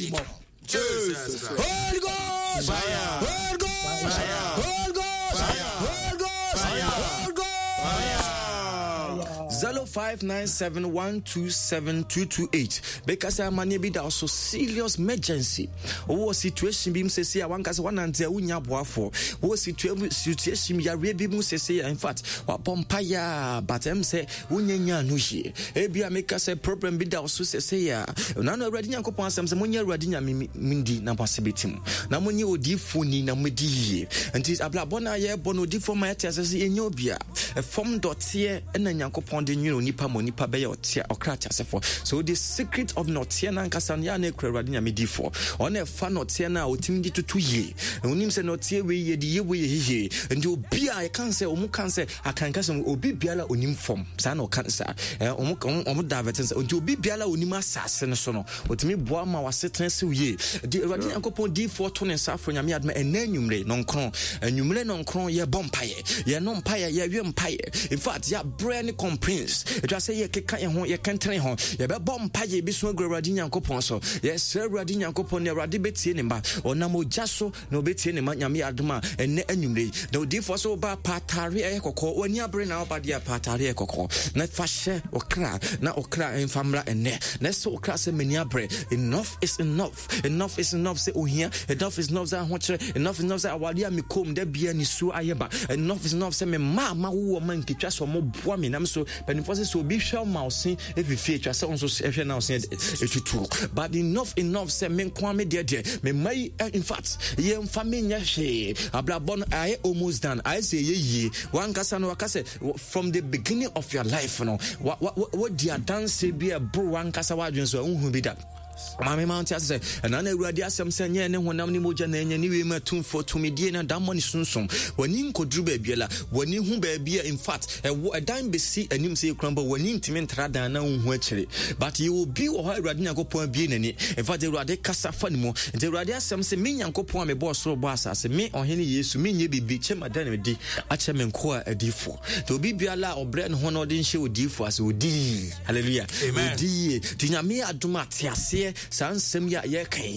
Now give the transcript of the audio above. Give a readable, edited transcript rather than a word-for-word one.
Him off. Jesus. Holy Ghost! Fire. Holy Ghost! Fire. Holy Ghost! Fire. Holy Ghost! Fire. Holy Ghost! Fire. 0597127228 bɛka sɛ amanneɛ bi da so serious emergency. Wowɔ situation bi mu sɛsi a wanka sɛ wanante a wonya aboafoɔ. Wowɔ situation yareɛ bi mu sɛsi a, in fact wabɔ mpayɛ a, but ɛm sɛ wonya nya no yie. Ebia meka sɛ problem bi da wo so sɛsɛ a, na no Awurade Nyankopɔn asɛm sɛ monyɛ Awurade Nyame ndi na mo ase bɛtim, na monyɛ odiyifoɔ ni na mobɛdi yie. Nti abrabɔ no a yɛbɔ no, odiyifoɔ ma yɛte asɛ sɛ yɛnyɛ obia ɛfam dɔteɛ ɛna Nyankopɔn de nwene onipa ma onipa bɛyɛ ɔteɛ ɔkra teasefoɔ. So the secret of nɔteɛ no ankasa no yɛ a na ɛkura Awurade Nyame difoɔ. Ɔna ɛfa nɔteɛ no a ɔtumi de toto yie. Onim sɛ nɔteɛ wei yɛde yɛ wei yɛ yie. Nti obi a yɛka sɛ ɔmo ka sɛ akanka sɛ obi biara onim fam saa na ɔka no saa, ɔmo ɔmo divert sɛ nti obi biara onim asase no so no ɔtumi boa ma wasetena siw yie. Di Awurade Nyankopɔn diifoɔ to ne nsa afro Nyame adoma ɛnɛ anwummere nɔnkron, anwummere nɔnkron yɛbɔ mpaeɛ, yɛno mpaeɛ, yɛwe mpaeɛ. In fact yɛabrɛ ne complaints ɛtwa sɛ yɛkeka yɛn ho, yɛkɛntene ho, yɛbɛbɔ mpaeɛ yɛbɛsu agu Awurade Nyankopɔn so. Yɛsrɛ Awurade Nyankopɔn ne Awurade bɛtie ne mma, ɔnam ogya so na ɔbɛtie ne ma. Nyame adom a ɛnnɛ anwummerɛ yi na odiyifoɔ sɛ woba pa atare ɛyɛ kɔkɔɔ, w'ani abere na woba deɛ, pa atare ɛyɛ kɔkɔɔ na fa hyɛ ɔkra na ɔkra mfa mmra ɛnnɛ, na ɛsɛ ɔkra sɛ m'ani abere. Enough is enough, enough is enough sɛ ohia, enough is enough sɛ ahokyerɛ, enough is enough sɛ awadeɛ a mekom da bia nisuo ayɛ ba, enough is enough sɛ me mma a mawo wɔ ma nketwa sɛ ɔmo boa me nam so. Mpanimfoɔ sɛ obi hwɛ ma ɔse efifie atwa sɛ ɔnso ɛhwɛ na ɔse etutu. But enough enough sɛ me nko me deɛ me mma yi, in fact yɛmfa me nyɛ hwee. Abrabɔ no ayɛ almost done, ayɛ sɛ ɛyɛ yie. Wankasa no waka sɛ from the beginning of your life no wa wa wadi adanse bi a ɛboro wankasa wadwene so a wohu bi da. Maame ma nte ase sɛ ɛna na Awurade asɛm sɛ nyɛ ne honam ne mogya na ɛnyɛ ne wiem atumfoɔ tumidie na dammɔ ne sunsum. W'ani nkɔduru baabiara, w'ani hu baabi a, in fact ɛwɔ ɛdan bɛsi anim sɛ yɛkura mpo w'ani ntumi ntra dan na wonhu akyire. But yɛwɔ obi wɔ hɔ a Awurade Nyankopɔn abie n'ani. In fact Awurade kasa fa ne mu. Nti Awurade asɛm sɛ me Nyankopɔn a mebɔɔ soro bɔɔ asase, me ɔhene Yesu, menyɛ biribi kyɛ mada ne di akyɛ me nkoa adiyifoɔ. Nti obi biara a ɔbrɛ ne ho na ɔde nhyɛ odiyifoɔ ase, ɔdi. Hallelujah. Amen. Ɔdi yie. Nti Nyame adom a te aseɛ saa nsɛm yi a yɛreka yi.